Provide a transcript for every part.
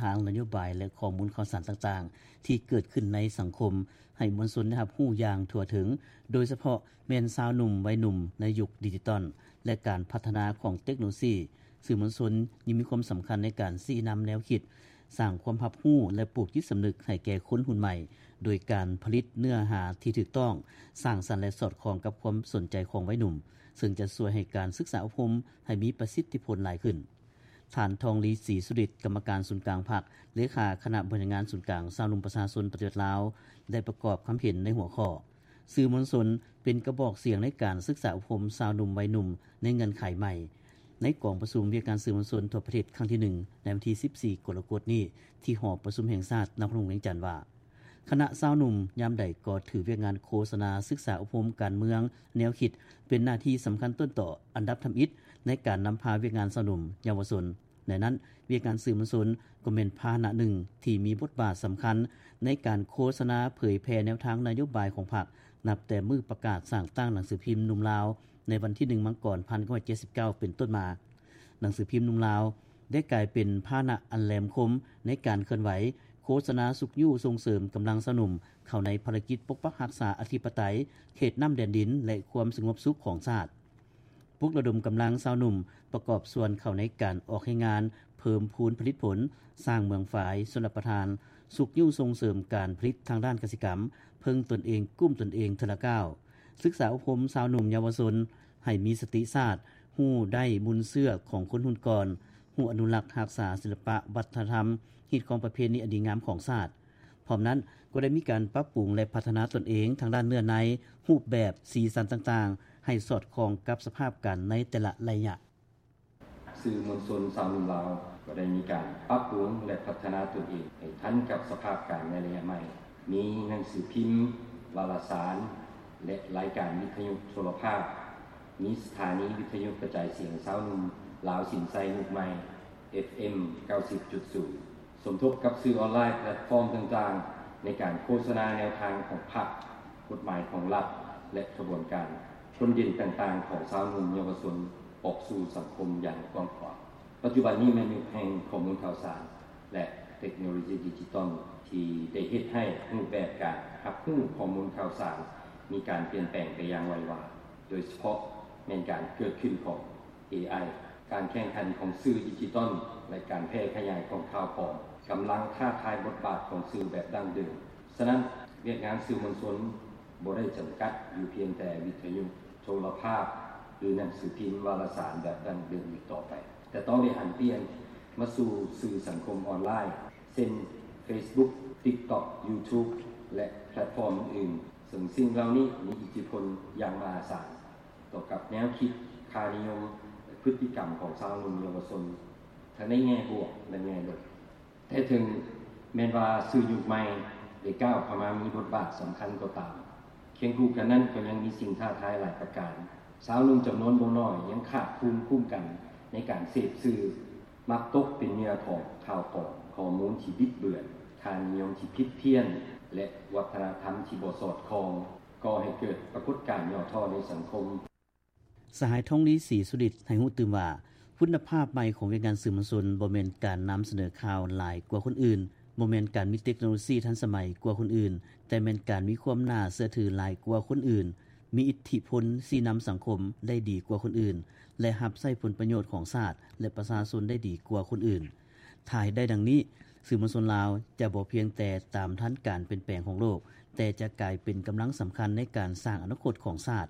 ທາງນະໂຍບາຍ ແລະ ຂໍ້ມູນຂ່າວສານຕ່າງໆ ທີ່ເກີດຂຶ້ນໃນສັງຄົມ ໃຫ້ມວນຊົນໄດ້ຮັບຮູ້ຢ່າງທົ່ວເຖິງ, ໂດຍສະເພາະແມ່ນຊາວໜຸ່ມໄວໜຸ່ມໃນຍຸກດິຈິຕອນ ແລະ ການພັດທະນາຂອງເຕັກໂນໂລຊີ. ສື່ມວນຊົນຍັງມີຄວາມສຳຄັນໃນການຊີ້ນຳແນວຄິດ, ສ້າງຄວາມຮັບຮູ້ ແລະ ປູກຈິດສຳນຶກໃຫ້ແກ່ຄົນຮຸ່ນໃໝ່ ໂດຍການຜະລິດເນື້ອຫາທີ່ຖືກຕ້ອງ, ສ້າງສັນ ແລະ ສອດຄ່ອງກັບຄວາມສົນໃຈຂອງໄວໜຸ່ມ, ເຊິ່ງຈະຊ່ວຍໃຫ້ການສຶກສາອົບຮົມໃຫ້ມີປະສິດທິຜົນຫຼາຍຂຶ້ນ. ທ່ານ ທອງລີ ສີສຸລິດ, ກຳມະການສູນກາງພັກ, ເລຂາຄະນະບໍລິຫານງານສູນກາງຊາວໜຸ່ມປະຊາຊົນປະຕິວັດລາວ ໄດ້ປະກອບຄຳເຫັນໃນຫົວຂໍ້ ສື່ມວນຊົນເປັນກະບອກສຽງໃນການສຶກສາອົບຮົມຊາວໜຸ່ມໄວໜຸ່ມໃນເງື່ອນໄຂໃໝ່ ໃນກອງປະຊຸມວຽກງານສື່ມວນຊົນທົ່ວປະເທດຄັ້ງທີໜຶ່ງ ໃນວັນທີສິບສີ່ ກໍລະກົດນີ້ ທີ່ຫໍປະຊຸມແຫ່ງຊາດນະຄອນຫຼວງວຽງຈັນວ່າ ຄະນະຊາວໜຸ່ມຍາມໃດກໍຖືວຽກງານໂຄສະນາສຶກສາອົບຮົມການເມືອງແນວຄິດ ເປັນໜ້າທີ່ສຳຄັນຕົ້ນຕໍອັນດັບທຳອິດໃນການນຳພາວຽກງານຊາວໜຸ່ມເຍົາວະຊົນ. ໃນນັ້ນ, ວຽກງານສື່ມວນຊົນກໍແມ່ນພາຫະນະໜຶ່ງທີ່ມີບົດບາດສຳຄັນໃນການໂຄສະນາເຜີຍແຜ່ແນວທາງນະໂຍບາຍຂອງພັກ ນັບແຕ່ມື້ປະກາດສ້າງຕັ້ງໜັງສືພິມໜຸ່ມລາວ ໃນວັນທີໜຶ່ງ ມັງກອນ ພັນເກົ້າຮ້ອຍເຈັດສິບເກົ້າ ເປັນຕົ້ນມາ. ໜັງສືພິມໜຸ່ມລາວໄດ້ກາຍເປັນພາຫະນະອັນແຫຼມຄົມໃນການເຄື່ອນໄຫວ ໂຄສະນາຊຸກຍູ້ສົ່ງເສີມກຳລັງຊາວໜຸ່ມເຂົ້າໃນພາລະກິດປົກປັກຮັກສາອະທິປະໄຕ, ເຂດນ້ຳແດນດິນ ແລະ ຄວາມສະຫງົບສຸກຂອງຊາດ. ປຸກລະດົມກຳລັງຊາວໜຸ່ມປະກອບສ່ວນເຂົ້າໃນການອອກແຮງງານ, ເພີ່ມພູນຜະລິດຜົນ, ສ້າງເມືອງຝາຍຊົນລະປະທານ, ຊຸກຍູ້ສົ່ງເສີມການຜະລິດທາງດ້ານກະສິກຳ, ເພິ່ງຕົນເອງ, ກຸ້ມຕົນເອງເທື່ອລະກ້າວ, ສຶກສາອົບຮົມຊາວໜຸ່ມເຍົາວະຊົນໃຫ້ມີສະຕິຊາດ, ຮູ້ໄດ້ມູນເຊື້ອຂອງຄົນຮຸ່ນກ່ອນ, ຮູ້ອະນຸລັກຮັກສາສິລະປະວັດທະນະທຳ, ຮີດຄອງປະເພນີອັນດີງາມຂອງຊາດ. ພ້ອມນັ້ນກໍໄດ້ມີການປັບປຸງ ແລະ ພັດທະນາຕົນເອງທາງດ້ານເນື້ອໃນ, ຮູບແບບ, ສີສັນຕ່າງໆ ໃຫ້ສອດຄ່ອງກັບສະພາບການໃນແຕ່ລະໄລຍະ. ສື່ມວນຊົນຊາວໜຸ່ມລາວກໍໄດ້ມີການປັບປຸງ ແລະ ພັດທະນາຕົນເອງໃຫ້ທັນກັບສະພາບການໃນໄລຍະໃໝ່, ມີໜັງສືພິມ, ວາລະສານ ແລະ ລາຍການວິທະຍຸໂທລະພາບ, ມີສະຖານີວິທະຍຸກະຈາຍສຽງຊາວໜຸ່ມລາວສິນໄຊຍຸກໃໝ່ ເອັຟເອັມ ເກົ້າສິບຈຸດສູນ ສົມທົບກັບສື່ອອນລາຍແພລດຟອມຕ່າງໆ ໃນການໂຄສະນາແນວທາງຂອງພັກ, ກົດໝາຍຂອງລັດ ແລະ ຂະບວນການພົ້ນເດັ່ນຕ່າງໆຂອງຊາວໜຸ່ມເຍົາວະຊົນອອກສູ່ສັງຄົມຢ່າງກວ້າງຂວາງ. ປັດຈຸບັນນີ້ແມ່ນຍຸກແຫ່ງຂໍ້ມູນຂ່າວສານ ແລະ ເຕັກໂນໂລຊີດິຈິຕອນ ທີ່ໄດ້ເຮັດໃຫ້ຮູບແບບການຮັບຮູ້ຂໍ້ມູນຂ່າວສານມີການປ່ຽນແປງໄປຢ່າງໄວວາ, ໂດຍສະເພາະແມ່ນການເກີດຂຶ້ນຂອງ ເອໄອ, ການແຂ່ງຂັນຂອງສື່ດິຈິຕອນ ແລະ ການແຜ່ຂະຫຍາຍຂອງຂ່າວປອມ ກຳລັງທ້າທາຍບົດບາດຂອງສື່ແບບດັ້ງເດີມ. ສະນັ້ນ, ວຽກງານສື່ມວນຊົນບໍ່ໄດ້ຈຳກັດຢູ່ພຽງແຕ່ວິທະຍຸ, ໂທລະພາບ ຫຼື ໜັງສືພິມ, ວາລະສານແບບດັ້ງເດີມອີກຕໍ່ໄປ, ແຕ່ຕ້ອງໄດ້ຫັນປ່ຽນມາສູ່ສື່ສັງຄົມອອນລາຍ ເຊັ່ນ ເຟສບຸກ, ຕິກຕັອກ, ຢູທູບ ແລະ ແພລດຟອມອື່ນໆ, ເຊິ່ງສິ່ງເຫຼົ່ານີ້ມີອິດທິພົນຢ່າງມະຫາສານ ຕໍ່ກັບແນວຄິດ, ຄ່ານິຍົມ ແລະ ພຶດຕິກຳຂອງຊາວໜຸ່ມເຍົາວະຊົນ ທັງໃນແງ່ບວກ ແລະ ແງ່ລົບ. ແຕ່ເຖິງແມ່ນວ່າສື່ຍຸກໃໝ່ໄດ້ກ້າວເຂົ້າມາມີບົດບາດສຳຄັນກໍຕາມ, ຄຽງຄູ່ກັນນັ້ນກໍຍັງມີສິ່ງທ້າທາຍຫຼາຍປະການ. ຊາວໜຸ່ມຈຳນວນບໍ່ໜ້ອຍຍັງຂາດພູມຄຸ້ມກັນໃນການເສບສື່, ມັກຕົກເປັນເຫຍື່ອຂອງຂ່າວປອມ, ຂໍ້ມູນທີ່ບິດເບືອນ, ຄ່ານິຍົມທີ່ຜິດພຽນ ແລະ ວັດທະນະທຳທີ່ບໍ່ສອດຄ່ອງ, ກໍ່ໃຫ້ເກີດປາກົດການຫຍໍ້ທໍ້ໃນສັງຄົມ. ສະຫາຍ ທອງລີ ສີສຸລິດ ໃຫ້ຮູ້ຕື່ມວ່າ, ຄຸນນະພາບໃໝ່ຂອງວຽກງານສື່ມວນຊົນບໍ່ແມ່ນການນຳສະເໜີຂ່າວຫຼາຍກວ່າຄົນອື່ນ, ບໍ່ແມ່ນການມີເຕັກໂນໂລຊີທັນສະໄໝກວ່າຄົນອື່ນ, ແຕ່ແມ່ນການມີຄວາມໜ້າເຊື່ອຖືຫຼາຍກວ່າຄົນອື່ນ, ມີອິດທິພົນຊີ້ນຳສັງຄົມໄດ້ດີກວ່າຄົນອື່ນ ແລະ ຮັບໃຊ້ຜົນປະໂຫຍດຂອງຊາດ ແລະ ປະຊາຊົນໄດ້ດີກວ່າຄົນອື່ນ. ຖ້າເຮັດໄດ້ດັ່ງນີ້, ສື່ມວນຊົນລາວຈະບໍ່ພຽງແຕ່ຕາມທັນການປ່ຽນແປງຂອງໂລກ, ແຕ່ຈະກາຍເປັນກຳລັງສຳຄັນໃນການສ້າງອະນາຄົດຂອງຊາດ,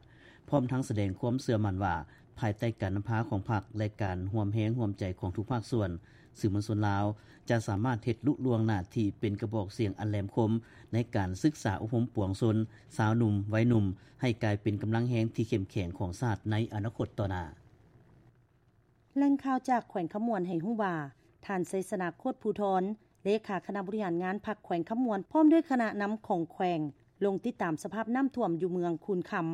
ພ້ອມທັງສະແດງຄວາມເຊື່ອໝັ້ນວ່າ ພາຍໃຕ້ການນຳພາຂອງພັກ ແລະ ການຮ່ວມແຮງຮ່ວມໃຈຂອງທຸກພາກສ່ວນ, ສື່ມວນຊົນລາວຈະສາມາດເຮັດລຸລ່ວງໜ້າທີ່ເປັນກະບອກສຽງອັນແຫຼມຄົມໃນການສຶກສາອົບຮົມປວງຊົນຊາວໜຸ່ມໄວໜຸ່ມ ໃຫ້ກາຍເປັນກຳລັງແຮງທີ່ເຂັ້ມແຂງຂອງຊາດໃນອະນາຄົດຕໍ່ໜ້າ. ແຫຼ່ງຂ່າວຈາກແຂວງຄຳມ່ວນໃຫ້ຮູ້ວ່າ, ທ່ານ ໄຊຊະນະ ໂຄດພູທອນ, ເລຂາຄະນະບໍລິຫານງານພັກແຂວງຄຳມ່ວນ ພ້ອມດ້ວຍຄະນະນຳຂອງແຂວງ ລົງຕິດຕາມສະພາບນ້ຳຖ້ວມຢູ່ເມືອງຄູນຄຳ,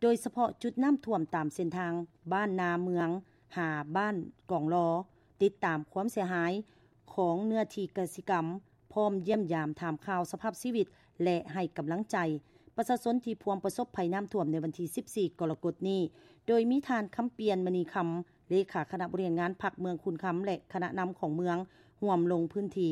ໂດຍສະເພາະຈຸດນ້ຳຖ້ວມຕາມເສັ້ນທາງບ້ານນາເມືອງ ຫາບ້ານກອງລໍ, ຕິດຕາມຄວາມເສຍຫາຍຂອງເນື້ອທີ່ກະສິກຳ, ພ້ອມຢ້ຽມຢາມຖາມຂ່າວສະພາບຊີວິດ ແລະ ໃຫ້ກຳລັງໃຈປະຊາຊົນທີ່ພວມປະສົບໄພນ້ຳຖ້ວມໃນວັນທີສິບສີ່ ກໍລະກົດນີ້, ໂດຍມີທ່ານ ຄຳປ່ຽນ ມະນີຄຳ, ເລຂາຄະນະບໍລິຫານງານພັກເມືອງຄູນຄຳ ແລະ ຄະນະນຳຂອງເມືອງ ຮ່ວມລົງພື້ນທີ່.